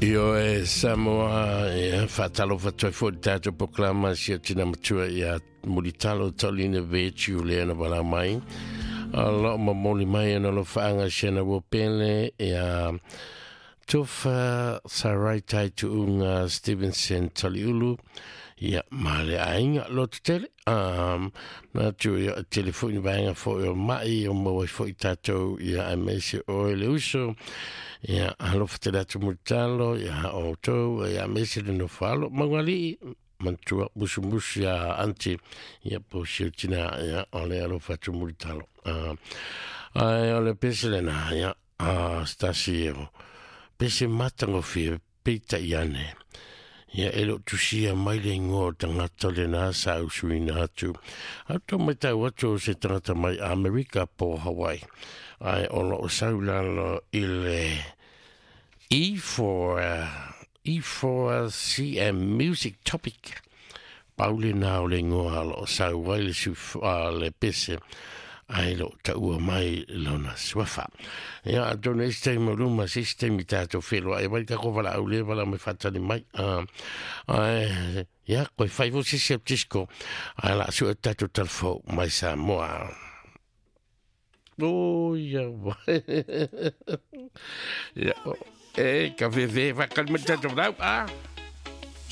Ioe Samoa, ia, faatalofa atu ai foi i le tatou polokalama si o tina matua ia Mulitalo Taulina Virtue lea na valaau mai. O lo o momoli mai ona alofaaga i si ana ua pele ia Tofa Sarai Tai Tuuga Stevenson Taliulu, ia, ma le aiga loto tele. Manatu ia, e tele foi ni vaega foi o mai o maua ai foi tatou, ia, aemaise oe le uso, ia, alofa tele atu Mulitalo ia outou, ia, aemaise le nofo alo Maualii manatua musumusu ia aunty, ia, po o si ou tina, ia, o le alofa atu Mulitalo. Ae o le pese lena, ia, se tasi o pese matagofie, peitai ane, ia, e le o tusia mai le igoa o le tagata lena sa usuina atu. A tou matau atu o se tagata mai Amerika po o Hawaii, ae o lo o sau i lalo i le E4, E4CM Music Topic. Pau lena o le igoa o lo o sau ai le, suf, le pese, ae le o taua mai lona suafa. Ia, atonu e isi taimi o luma, se isi taimi tatou feiloai ai le tatou valaau lea valaau mai faatali mai. Ae, ia, koe fai foi se isi au disco, ae la sue tatou talafou mai Samoa. O, ia, vai. Ia, e, ka fefe, whakali mai tatou valaau, ah.